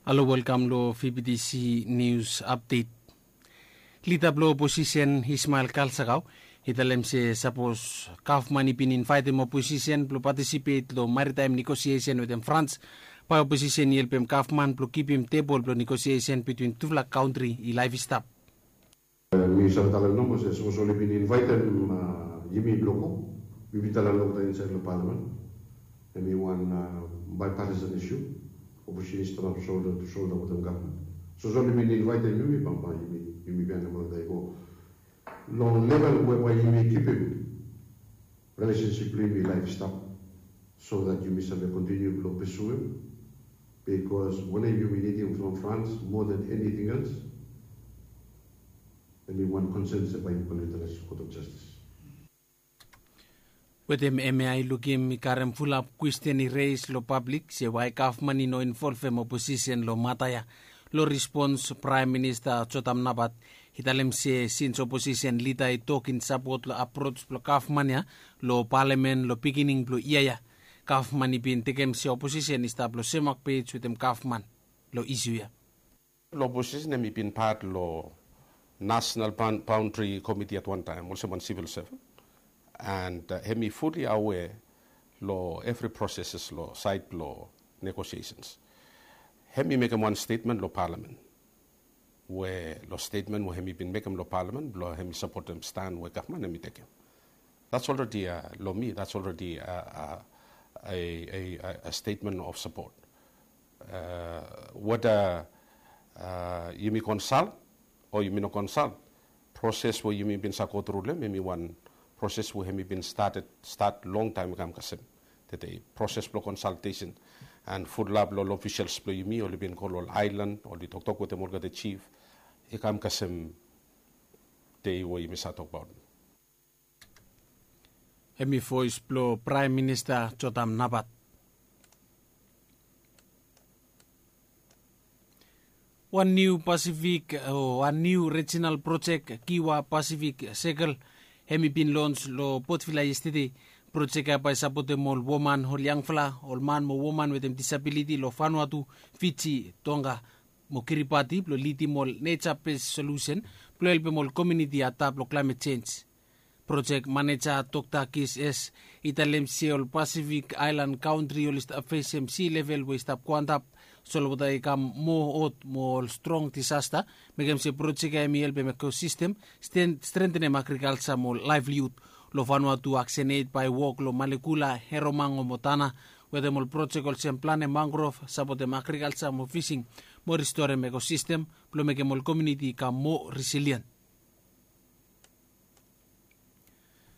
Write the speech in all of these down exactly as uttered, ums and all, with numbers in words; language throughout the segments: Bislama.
Alo, welkam lo V B T C News Update. Lida blo oposisen Ismael Kalsakau i talem se sapos gavman i bin invaetem oposisen blo patisipet lo maritaem negosiesen wetem Frans, bae oposisen i helpem gavman blo kipim tebol blo negosiesen bitwin tufala kantri i laef i stap. Mi save talem nomo se sapos oli bin invaetem yumi blo go, mi bin talem olgeta insaed lo palamen, hemi wan bipartisan isu. Oposisen i stanap solda tu solda wetem gavman. Sapos oli bin invaetem yumi, bambae yumi, yumi biaen olgeta i go long level we bae yumi kipim relesensip blo yumi laef i stap, so that yumi save kontiniu blo pesuem. Bikos wanem yumi nidim from Frans more than anything else, hemi wan konsen se bae yumi go long International Court of Justice. Wetem hemia i lukim i karem fulap kwesten i reis lo pablik se wae gavman i no involvem oposisen lo mata ya. Lo respons, Praem Minista Jotam Napat i talem se sins oposisen lida i tok in sapot lo aprots blo gavman ya lo palamen lo bigining blo yia ya, gavman i bin tekem se oposisen i stap lo semwak pej wetem gavman lo isu ya. Lo oposisen hemi bin pat lo National Boundary Committee at wan taem olsem wan sivil sevan, and hemi fuli awea lo evri proses lo saed blo negosiesens. Hemi mekem wan stetmen lo palamen, we lo stetmen we hemi bin mekem lo palamen blo hemi sapotem stan we gavman hemi tekem. That's already, lo mi, that's already a statement of support. Weda yumi konsalt o yumi no konsalt, proses we yumi bin save gotru lo hem hemi wan proses we hemi bin stat longtaem i kam kasem tede. Proses blo konsaltesen and fulap lo ol ofisels blo yumi oli bin go lo ol aelan, oli toktok wetem olgeta jif, i kam kasem dei we yumi save tokbaot. Hemi voes blo Praem Minista Jotam Napat. Wan niu Pasifik o wan niu rijinal projek, Kiwa Pacific Circle, hemi bin lons lo Port Vila yestede. Projek ya bae sapotem ol woman, ol yangfala, ol man mo woman wetem disabiliti lo Vanuatu, Fiji, Tonga mo Kiribati blo lidim ol neja bes solusen blo helpem ol komuniti adap lo klaemet jenj. Projek maneja Dokta Kis S i talem se ol Pasifik aelan kantri oli stap fesem si level we i stap go antap, solwota i kam moa hot mo ol strong disasta, mekem se projek ya hemi helpem ekosistem, strentenem agrikalja mo laevliud. Lo Vanuatu aksen eid bae wok lo Malekula, Heromango mo Tana, wetem ol projek olsem planem mangrov, sapotem agrikalja mo fising, mo ristorem ekosistem blo mekem ol komuniti i kam moa risilien.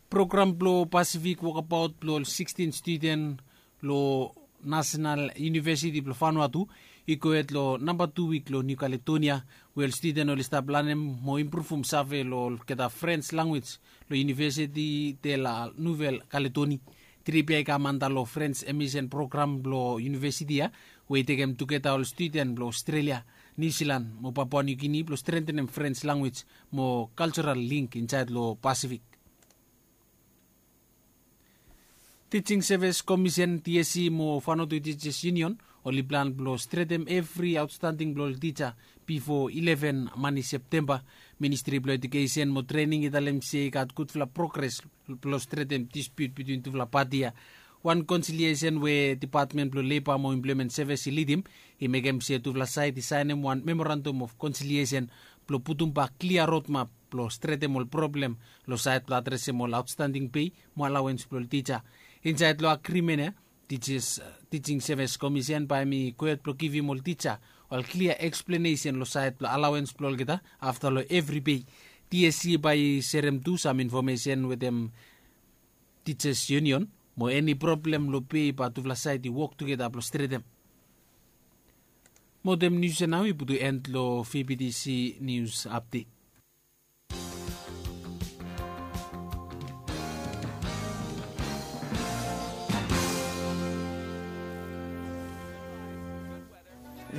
Program blo Pasifik wokabaot blo ol sikstin studen lo Nasenal Univesiti blo Vanuatu i gohed lo namba tu wik lo Niu Kaledonia, we ol studen oli stap lanem mo impruvum save lo olgeta Frens lanwis lo Univesiti de la Nuvel Kaledoni. Trip ya i kam anda lo Frens emisen program blo univesiti ya, we i tekem tugeta ol studen blo Ostrelia, Niu Silan mo Papua Niu Gini blo strentenem Frens lanwis mo kaljoral link insaed lo Pasifik. Teaching Service Commission, T S C, mo Vanuatu Teachers Union oli plan blo stretem evri aotstanding blo ol tija bifo ileven mani Septemba. Ministri blo Ejukesen mo Trening i talem se i gat gudfala progres blo stretem dispiut bitwin tufala pati ya. Wan konsiliesen we Depatmen blo Leba mo Emploemen Sevis i lidim i mekem se tufala saed i saenem wan memorandam of konsiliesen blo putumbak klia rodmap blo stretem ol problem lo saed blo adresem ol aotstanding pei mo alawens blo ol tija. Insaed lo agrimen ya, Teachers, Teaching Service Commission bae hemi gohed blo givim ol tija ol klia eksplenesen lo saed blo alawens blo olgeta afta lo evri pei. T S C bae i serem tu sam infomesen wetem Teachers Union mo eni problem lo pei bae tufala saed i wok tugeta blo stretem. Mo wetem nius ya nao i putum en lo V B T C News Update.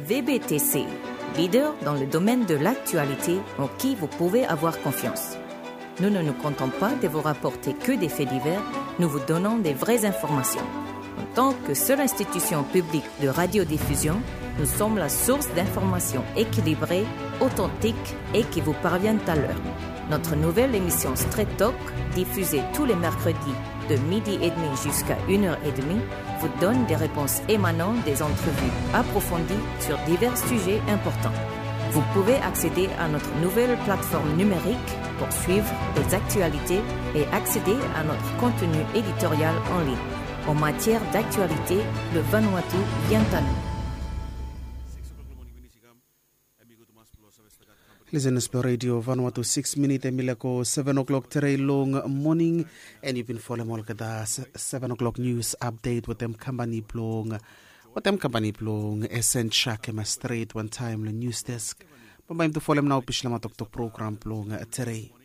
V B T C, leader dans le domaine de l'actualité en qui vous pouvez avoir confiance. Nous ne nous contentons pas de vous rapporter que des faits divers, nous vous donnons des vraies informations. En tant que seule institution publique de radiodiffusion, Nous sommes la source d'informations équilibrées, authentiques et qui vous parviennent à l'heure. Notre nouvelle émission Straight Talk, diffusée tous les mercredis de midi et demi jusqu'à une heure et demie, vous donne des réponses émanant des entrevues approfondies sur divers sujets importants. Vous pouvez accéder à notre nouvelle plateforme numérique pour suivre les actualités et accéder à notre contenu éditorial en ligne. En matière d'actualité, le Vanuatu vient à nous. Listeners blong Radio Vanuatu, six minit hemi laek go seven o'clock tere long moning. And you bin folem olgeta seven o'clock news update wetem company blong wetem company blong Esen Chak hemi stret wantaem long news desk. Bambae yumi tu folem nao Bislama Toktok program blong tere.